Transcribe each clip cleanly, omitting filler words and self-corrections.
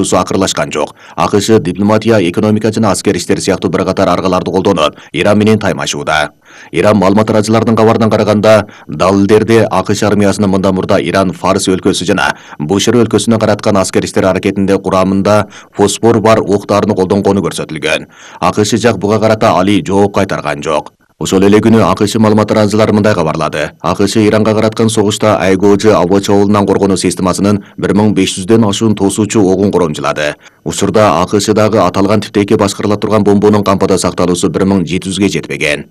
акырлашкан жок. АКШ дипломатия, экономика жана аскер иштер сыяктуу бир катар аргаларды колдонуп, Иран менен таймашууда. Иран маалымат таратчыларынын кабарынан караганда, далилдерде АКШ армиясынын мындан мурда Иран Фарс өлкөсү жана Бушер өлкөсүнө караткан аскер иштер аракетинде курамында фосфор бар октарын колдонгону көрсөтүлгөн. АКШ жак буга карата али жооп кайтарган жок. Ошол эле күнү АКШ маалымат таратчылары мындай кабарлады. АКШ Иранга караткан согушта айгоожу аба чабуулунан коргонуу системасынын 1500дөн ашуун тосуучу огун коромжулады. Учурда АКШдагы аталган типтеги башкарыла турган бомбонун кампада сакталуусу 1700ге жетпеген.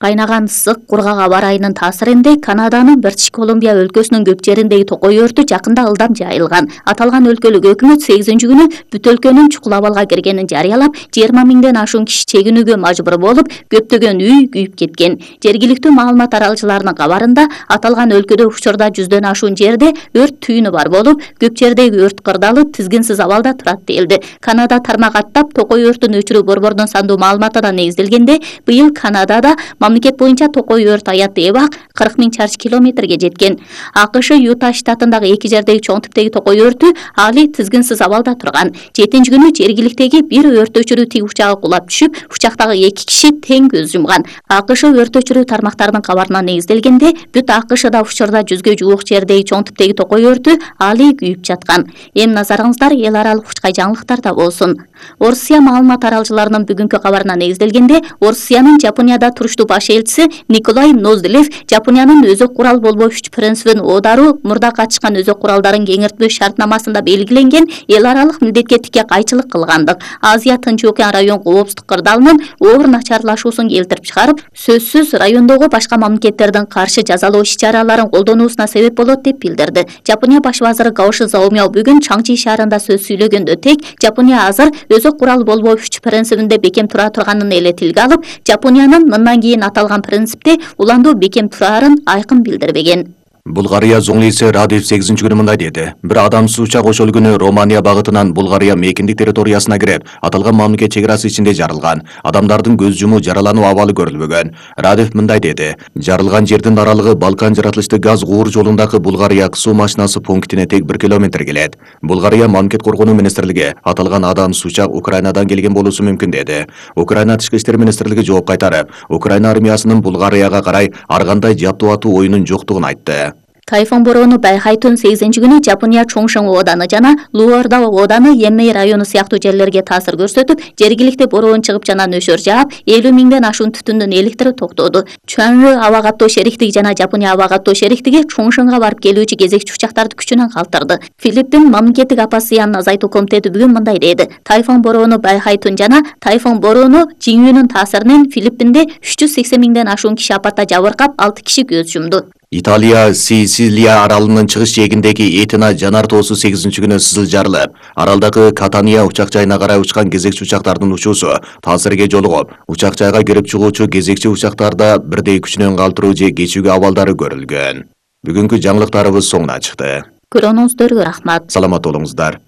Кайнаган ысык кургак аба ырайынын таасиринде Канаданын Бритиш Колумбия өлкөсүнүн көп жериндеги токой өртү жакында ылдам жайылган. Аталган өлкөлүк өкмөт 8-күнү бүт өлкөнүн чукул абалга киргенин жарыялап, 20 миңден ашуун киши чегинүүгө мажбур болуп, көптөгөн үй күйүп кеткен. Жергиликтүү маалымат таралгычыларынын кабарында аталган өлкөдө учурда 100дөн ашуун жерде өрт түйүнү бар болуп, көп жердеги өрт кырдалы тизгинсиз абалда турат делди. Канада тармак аттап токой өртүн өчүрүү борборунун сандуу маалыматына негизделгенде, быйыл Канадада мамлекет боюнча токой өрт аятты эбак 40 миң чарчы километрге жеткен. АКШ Юта штатындагы 2 жердеги чоң типтеги токой өртү али тизгинсиз абалда турган. 7-күнү жергиликтеги бир өрт өчүрүү тиг учагы кулап түшүп, учактагы 2 киши тең көз жумган. АКШ өрт өчүрүү тармактарынын кабарына негизделгенде, бүт АКШда учурда 100гө жуук жердеги чоң типтеги токой өртү али күйүп жаткан. Эми назарыңыздар эл аралык учкай жаңылыктарда болсун. Орусия маалымат таралгычыларынын бүгүнкү кабарына негизделгенде, Орусиянын Жапонияда туруштуу баш элчиси Николай Ноздилев Жапониянын өзөк курал болбоо күч принцибин оодаруу мурда катышкан өзөк куралдарын кеңиртпөө шартнамасында белгиленген эл аралык милдетке тике кайчылык кылгандык, Азия Тынч океан район коопсуздук кырдаалынын оор начарлашуусун келтирип чыгарып, сөзсүз райондогу башка мамлекеттердин каршы жазалоо иш-чараларын колдонуусуна себеп болот деп билдирди. Жапония баш вазыры Гаоши Заомяо бүгүн Чаңчи шаарында сөз сүйлөгөндө тең Жапония азыр өзөк курал болбоо күч принцибинде бекем тура турганын эле тилге алып, Жапониянын мындан кийин аталган принципте уландуу бекем турарын айкын билдирбеген. Булгария зоңлиси Радев 8-күнү мындай деди. Бир адамсыз учак ошол күнү Романия багытынан Булгария мейкиндик территориясына кирип, аталган мамлекет чек арасы ичинде жарылган. Адамдардын көз жумуу, жаралануу абалы көрүлбөгөн. Радев мындай деди. Жарылган жердин аралыгы Балкан жаратылыштуу газ куур жолундагы Булгария суу машинасы пунктине тең 1 километр келет. Булгария мамлекет коргонуу министрлиги аталган адамсыз учак Украинадан келген болуусу мүмкүн деди. Украина тышкы иштер министрлиги жооп кайтарып, Украина армиясынын Булгарияга карай ар кандай жаптуу атуу оюнун жоктугун айтты. Тайфун бороону Байхайтун 8-күнү Жапония Чоңшоң ооданы жана Луорда ооданы Емей району сыяктуу жерлерге таасир көрсөтүп, жергиликти бороон чыгып жана нөшөр жаап, 50 миңден ашуун түтүндүн электри токтоду. Чуанжы аба каттоо шериктиги жана Жапония аба каттоо шериктиги Чоңшоңго барып келүүчү кезекчи учактарды күчүнөн калтырды. Филиппин мамлекеттик апат зыянын азайтуу комитети бүгүн мындай деди. Тайфун бороону Байхайтун жана тайфун бороону Жиңүүнүн таасиринен Филиппинде 380 миңден ашуун киши апатта жабыркап, 6 киши көз жумду. Италия Сицилия аралынын чыгыш жээгиндеги Этина жанар тоосу 8-күнү сызыл жарылып, аралдагы Катания учак жайына карай учкан кезекчи учактардын учуусу таасирге жолугуп, учак жайга кирип чыгуучу кезекчи учактарда бирдей күчүнөн калтыруу же кечүүгө абалдары көрүлгөн. Бүгүнкү жаңылыктарыбыз соңуна чыкты. Көрүүңүздөргө рахмат. Саламат болуңуздар.